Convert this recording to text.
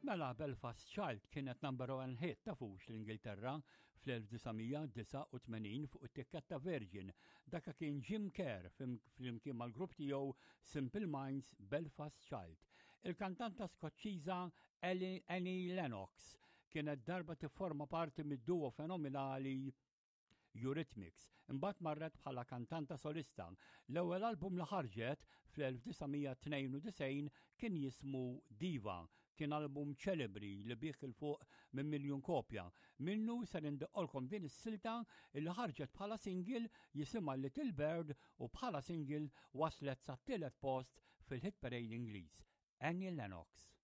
Mela Belfast Child kienet number one hit tafux l-Ingilterra fl-1989 fuq it-tikketta Virgin. Daka kien Jim Kerr flimkien mal-grupp tiegħu Simple Minds Belfast Child. Il-kantanta Skoċċiża Annie Lennox kienet darba tifforma parti mid-duo fenomenali Eurythmics. Imbagħad marret bħala kantanta solista. L-ewwel album li ħarġet fl-1992 kien jismu Diva. Kien album ċelebri li biegħ 'il fuq minn miljun kopja. Minnu ser indoqqolkom din is-silta li ħarġet bħala single jisimha Little Bird u bħala single waslet sat-tielet post fil-hit parade Ingliż. Annie Lennox.